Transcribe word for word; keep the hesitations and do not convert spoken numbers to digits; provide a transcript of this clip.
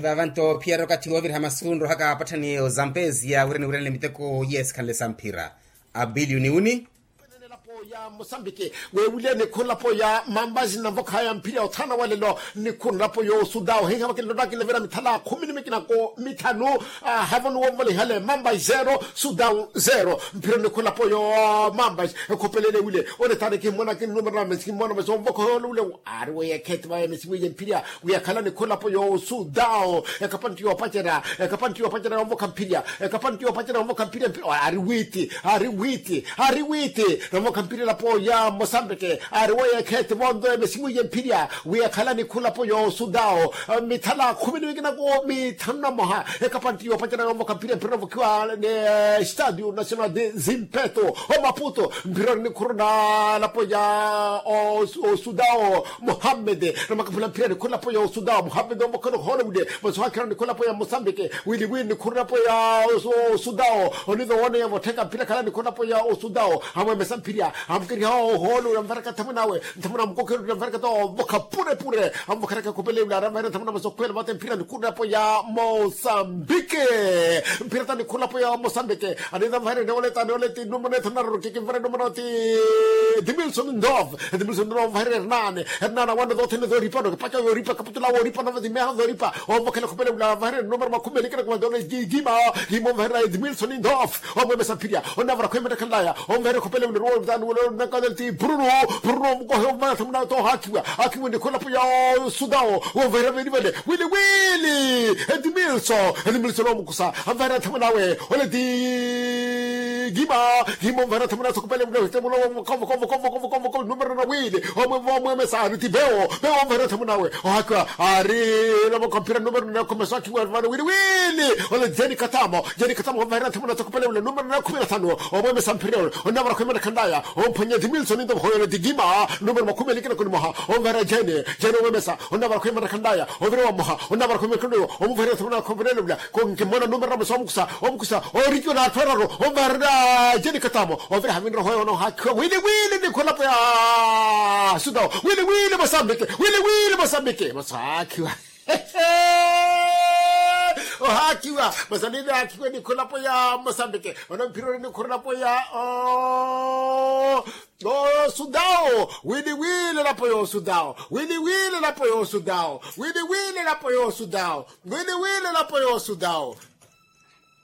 Avanto phiyari okathi wooviriha masu nrohaka apatthani ozampezia wira niwiranele miteko yesikhanle sa mphira. Abiliyuni wuni. Elapo ya mosambiki, weewulyeni khulapo ya mambazi na mvokhaya mphirya othana walelo. Ni khulapo yo sudawo hiha vakilonda kilavira mithala khumi ni mikinako mithanu. Havoni womvole ihale mambazi zero sudawo zero. Mphirya ni khulapo yo mambazi ekhopelele wile. Onetani kimmona kinnumera na mesi kimmona mesi omvokha yolo wile. Ari weye khetti vaya mesi wiye mphirya wiyakhala ni khulapo yo sudawo. Ekapanti yopacerya ekapanti yopacerya omvokha mphirya ekapanti yopacerya omvokha mphirya mphirya ari wiiti. Ari wiiti. Ari wiiti. Namokha mpirela po ya mosambike. Ari woye ekheti vonto emesimu ye mpirya wi ekhala nikhula po yosudawo mithala khumi ni wikinako mithanu na moha. Ekapanti yopacerya yomokha mpirya mpirela vokhiwa ni stadio national de zimpeto omaputo mpirela nikhuruna lapo ya osudawo. Muhammede namakaphula mpirya nikhula po yosudawo muhammede omokhana oholowile. Masi ohakhirana nikhula po ya mosambike wili wili nikhurina po ya osudawo. Onizo wooneya vottheka mphira khala nikhona po ya osudawo amwemesa mphirya amukeriha ohoolo ya mvaraka nthamuna awe. Nthamuna amukokhererya mvaraka ta ovokha pure pure amuvokheraka khupelewula aramvaherya nthamuna masi okhwela vate mphira nikhurina po ya mosambike. Mphira ta nikhurina po ya mosambike aniza mvaherya neoleta neoleti numero ethanu narorokeke mvara numero ti dimilson ndov. Edimilson ndov mvaherya ernane ernane awana zothene zoripa nokipaca yoripa kaputula woripa nava zimeha zoripa. Ovokhela khupelewula vaherya numero makhumi eli kinakumanza ole jima. Jima ovaherya edimilson ndov omwemesa mphirya onavara khwemetakhanlaya. Ovaherya khupelewula ruwo mtanu wula onakazali ti bruno bruno omukohe ovaherya thamuna tohakhiwa. Akhiwa nikholapo ya osudawo ovaherya veli vale wili wili edimilson. Edimilson omukusa avaherya thamuna awe ole ti jima. Jima ovaherya thamuna sokupelewula numero na wili omwemesa ari ti bewo bewo ovaherya thamuna awe. Ohakiwa ari namoko mphira numero na kumi na swakiwa vano wili wili. Ole jeni katamo jeni katamo ovaherya thamuna sokupelewula numero na kumi na thanu. Omwemesa mphira ole onavara khwemana khandaya omphwanya dimilson ndo hoyo ole dijima numero makumi eli kinaku ni moha. Ovaherya jeni jeni omwemesa onavara khwemana khandaya ovire wa moha onavara khwemana khandaya omuvaherya thamuna sokupelewula. Konkimona numero na mesa omukusa omukusa orikiwa na atthu araru ovaherya jeni katamo. Ovira havinroho yono ohakhiwa wili wili nikholapo ya sudawo wili wili mosambike wili wili mosambike mosakhiwa. Ohakhiwa masanini hakhiwa nikholapo ya mosambike. Ono mphironi nikholapo ya osudawo wili wili lapo yosudawo wili wili lapo yosudawo wili wili lapo yosudawo wili wili lapo yosudawo.